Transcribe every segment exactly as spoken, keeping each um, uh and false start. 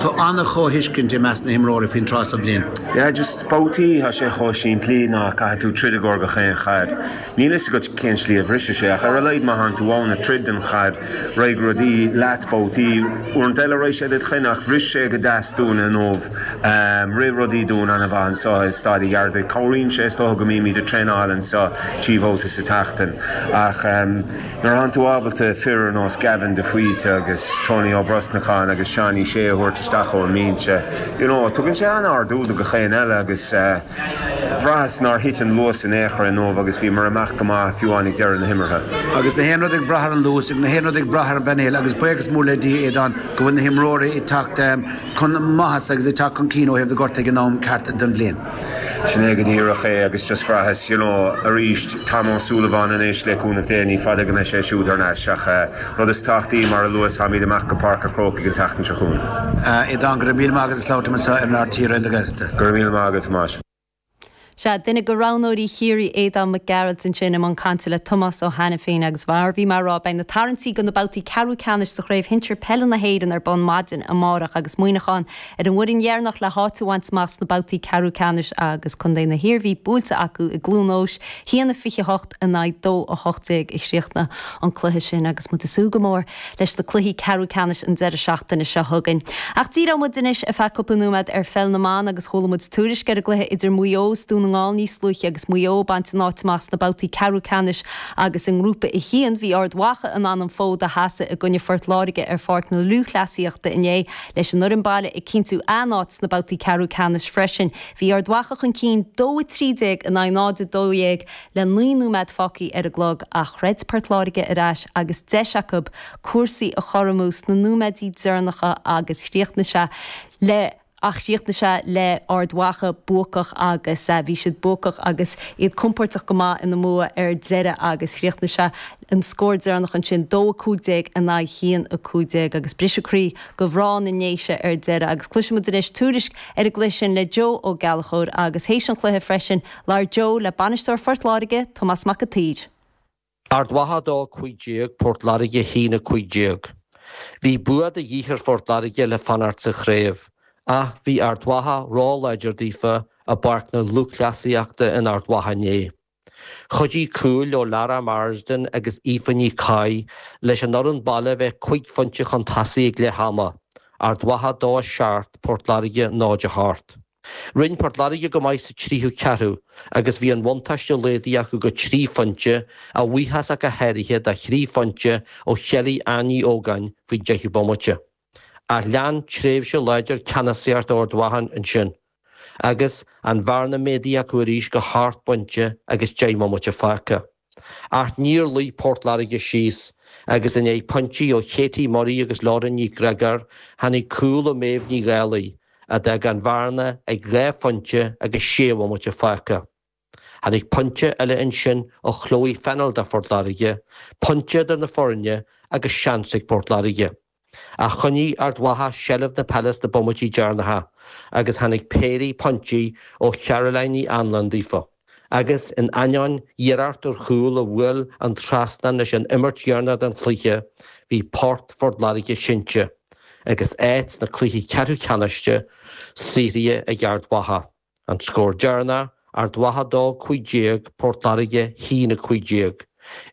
Tá an-chomhthuiscint i measc na himreoirí faoin tráth sa bhliain. Yeah, just babhtaí tá sé chomh simplí ná caithfidh tú troid i gcomhair gach aon chaid. Níl fhios agat cén slí a bhrisfidh sé ach ar a laghad má thánn tú ann ag troid don chaid raghaidh rudaí leat babhtaí uaireanta eile raghaidh sé duit chuin ach bhris sé go deas dúinn inniu. Um, rith rudaí dúinn an-mhaith anseo i Staid an Ghearaltaigh. Cabhraíonn sé is dócha go mbímid ag traenáil anseo trí bhabhta sa tseachtain. Ach um, nuair atánn tú ábalta fir ar nós Gavin de Faoite agus Tony Ó Brosnacháin agus Seánie Sé a thabhairt isteach ón mbinse. You know, tugann sé an-ardú do gach aon eile agus uh, bhraitheas nár thit an luas in aon chor inniu agus bhíomar amach go maith fiú ag deireadh na himeartha. Agus na haon rud ag brath ar an luas, na haon rud ag brath ar an bpainéal agus buíochas mór le Dia Aodán go bhfuil na himreoirí ag teacht um, chun maitheasa agus ag teacht chun cinn ó thaobh na gortuithe ag an am ceart den bhliain. Sin é go díreach é agus just bhraitheas you know, arís Tom Ó Súilleabháin anois le cúnamh Dé ní fada go mbeidh sé siúd thar n-ais ach uh, rud is tábhachtaí mar a luas táimid amach go Páirc an Chrócaigh an tseachtain seo chugainn. Uh, Aodán go raibh míle maith agat as labhairt anseo ar an RTÉ Raidió na Gaeltachta. Go raibh míle maith agat Tomás. Sea duine de roghnóirí Chiarraí Aodán Mac Gearailt ansin i mbun cainte le Tomás Ó hAiniféin agus mar bhí mé ag rá beidh na tarraingtí do na babhtaí ceathrú ceannais sa chraobh shinsir peile na hÉireann ar bun maidin amárach agus Muineachán ar an bhfoireann dheireanach le háit a bhaint amach sna babhtaí ceathrú ceannais agus Contae na hIarmhí buailte acu i gCluain Eois a haon a fiche hocht in aghaidh dó a hocht déag a chríochnaigh an cluiche sin agus muid ag súil go mór leis na cluichí ceathrú ceannais an deireadh seachtaine seo chugainn. Ach díreoidh muid anois ar feadh cúpla nóiméad ar pheil na mban agus chuala muid tuairisc ar an gcluiche idir Maigh Eo is Dún na nGall níos luaithe agus Maigh Eo ag baint an áit amach sna babhtaí ceathrú ceannais agus i ngrúpa a haon bhí Ard Mhacha in ann an fód a sheasamh i gcoinne Phort Láirge ar Pháirc na Lúthchleasaíochta inné leis an fhoireann baile ag cinntiú a n-áit sna babhtaí ceathrú ceannais freisin. Bhí Ard Mhacha chun cinn dó a trí déag in aghaidh náid a dó dhéag le naoi nóiméad fágtha ar an gclog ach throid Port Láirge ar ais agus deis acu cúrsaí a chothromú sna nóiméidí deireanacha agus chríochnaigh sé le ach chríochnaigh sé le Ard Mhacha buacach agus bhí siad buacach agus iad compordach go maith ina mbua ar deireadh agus chríochnaigh sé an scór deireanach ansin dó a cúig déag in aghaidh haon a cúig déag agus briseadh croí do mhná na nDéise ar deireadh agus cloisfimid anois tuairisc ar an gcluiche sin le Joe Ó Gallchóir agus théis an chluiche freisin labhair Joe le bainisteoir Phort Láirge Tomás Mac an tSaoir. Ard Mhacha dó cúig déag Port Láirge haon a cúig déag. Bhí bua de dhíth ar Phort Láirge le fanacht sa chraobh, ach bhí Ard Mhacha róláidir daofa i bPáirc na Lúthchleasaíochta in Ard Mhacha inné. Chuidigh cúil ó Lara Marsden agus Aoife Ní Chaith leis an fhoireann baile bheith cúig phointe chun tosaigh ag leath ama, Ard Mhacha dó seacht Port Láirge náid a hocht. Rinne Port Láirge go maith sa tríú ceathrú agus bhí an buntáiste laghdaithe acu go trí phointe a bhuíochas go háirithe do thrí phointe ó Chelly Ann Ní Ógáin faoin deichiú bomaite. Ach lean tréimhse láidir ceannasaíocht Ard Mhacha ansin, agus an bhearna méadaithe acu arís go hocht bpointe agus deich mbomaite fágtha. Ach níor luigh Port Láirge síos agus i ndiaidh pointí ó Katie Murray agus Lauren Ní Ghreagáir tháinig cúl ó Méabh Ní Dhálaigh a d'fhág an bhearna ag dhá phointe agus sé bhomaite fágtha. Tháinig pointe eile ansin ó Chloe Fennell do Phort Láirge, pointe idir na foirne agus seans ag Port Láirge. Ach choinnigh Ard Mhacha seilbh na peile sna bomaití deireanacha agus tháinig péirí pointí ó Caroline Ní Anluain daofa. Agus in ainneoin iarracht ar chúl a bhuail an trasnán leis an imirt dheireanach den chluiche, bhí port Phort Láirge sínte, agus áit sna cluichí ceathrú ceannais saothraithe ag Ard Mhacha. An scór deireanach Ard Mhacha dó cúig déag Port Láirge haon a cúig déag.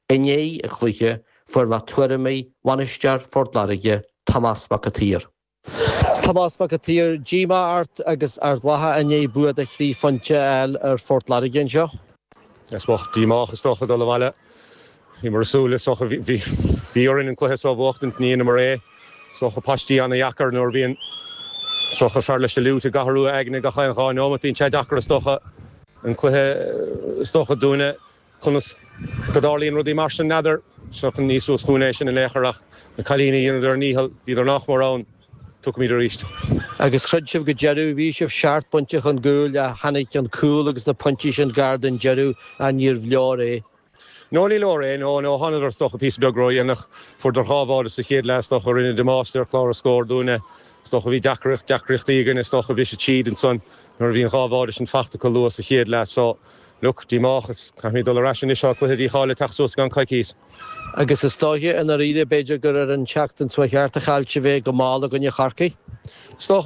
I ndiaidh an chluiche fuair mé tuairimí bhainisteoir Phort Láirge Tomás Mac an tSaoir. Tomás Mac an tSaoir díomá ort agus Ard Mhacha i ndiaidh bua de thrí phointe a fháil ar Phort Láirge anseo. Is bocht díomách is dócha dul abhaile. Bhí mar súil is dócha bhí orainn an cluiche seo a bhuachtaint ní mar é. Is dócha paistí an-deacair nuair bhíonn is dócha fear leis an liúit ag athrú aigne gach aon dhá nóiméad bíonn sé deacair is dócha an cluiche is dócha dúinne conas go dtarlaíonn rudaí mar sin n'fheadar seo ní suas chugainn é sin in aon chor ach na cailíní dhéanadar a ndícheall bhíodar nach mór ann tugaimid arís. Agus throid sibh go deireadh bhí sibh seacht bpointe chun cúil a tháinig an cúl agus na pointí sin gar don deireadh a níorbh leor é. No ní leor é nó nó thánadar is dócha píosa beag ródhéanach fuaireadar dhá bháide sa chéad leath is dócha rinne damáiste ar chlár scór dúinne Is dócha bhí deacracht deacrachtaí againn is dócha bhí sé tríd ansan nuair a bhí an dhá bháide sin fachta go luath sa chéad leath so look díomách is caithfimid dul ar ais anois seo cluiche dícháilithe teacht suas gan coicís. Agus is dóiche i ndáiríre b'fhéidir gur ar an tseachtain seo cheart a chaill sibh é go mall i gcoinne Chorcaí. Is dócha